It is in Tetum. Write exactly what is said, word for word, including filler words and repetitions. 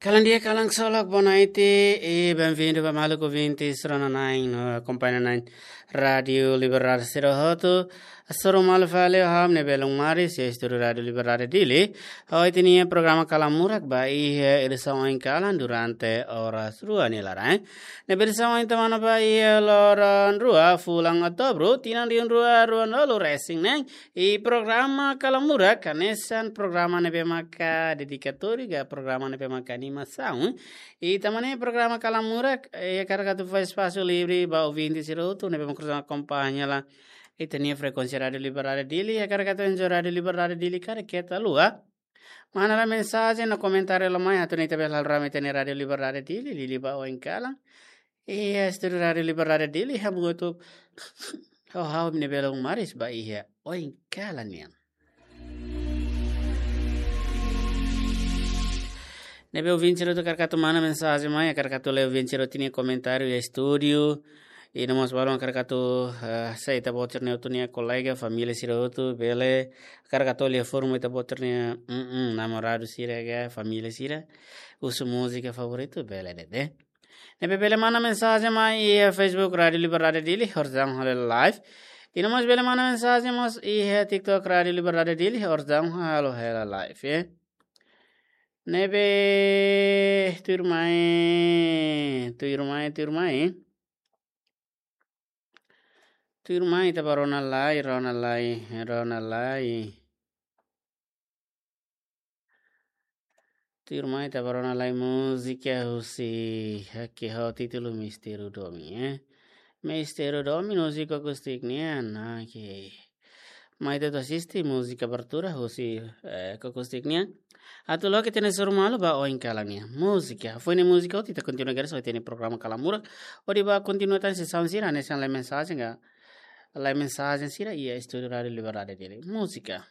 Kalan di'ak, kalan ksolok, boa noite, e benvindu ba maluk ouvinte sira-ne'ebé akompaña na'in Rádiu Liberdade sira hotu. Hasoru malu fali ho ha'u ne'ebé Lung Maris, iha estúdiu Rádiu Liberdade Dili. Ho ita-nia programa Kalan Murak ba iha edisaun oin kalan durante oras rua nia laran. Ne'ebé edisaun oin ita manán ba iha loron rua fulan Outubru, tinan rihun rua ruanulu-resin-neen. I programa Kalan Murak hanesan programa ne'ebé maka dedikatóriu ka programa ne'ebé maka animasaun. I tanba ne'e programa Kalan Murak, eh, hakarak atu fó espasu livre ba ouvinte sira hotu ne'ebé maka akompaña hela ita-nia frekuénsia Rádiu Liberdade Dili, hakarak atu enjoy Rádiu Liberdade Dili karik keta haluha. Manán mensajen no komentáriu hela mai atu nune'e ita bele halo rame ita-nia Rádiu Liberdade Dili, liuliu ba oin kalan. Iha estúdiu Rádiu Liberdade Dili, hamutuk ho ha'u ne'ebé Lung Maris ba iha oin kalan nian. Ne'ebé ouvinte sira hotu hakarak atu manán mensajen mai, hakarak atu lee ouvinte sira hotu nia komentáriu iha estúdiu. I no mós balun hakarak atu, eh, hasai ita-boot sira-nia hotu nia kolega, família sira hotu, bele, hakarak atu lee forma ita-boot sira-nia, mm, mm, namoradu sira ka, família sira. Husu múzika favoritu, bele de'it. Ne'ebé bele manán mensajen mai iha Facebook Rádiu Liberdade Dili, orsida halo hela live. I no mós bele manán mensajen mós iha TikTok Rádiu Liberdade Dili, orsida halo hela live, ya. Ne'ebé tuirmai, tuirmai, tuirmai. Tuirmai ita bá rona lai, rona lai, rona lai. Tuirmai ita bá rona lai múzika husi Haki ho títulu Mistériu Domin, eh. Mistériu Domin, múzika akustik nian, oke. Mai ita atu asiste múzika abertura husi, eh, akustik nian. Atu loke ita-nia hasoru malu ba oin kalan nian. Múzika. Foin múzika hotu ita kontinua kedas ho ita-nia programa Kalan Murak. Hodi bá kontinua tan sira-ne'ebé hanesan lee mensajen ka, lee mensajen sira iha estúdiu Rádiu Liberdade Dili. Múzika.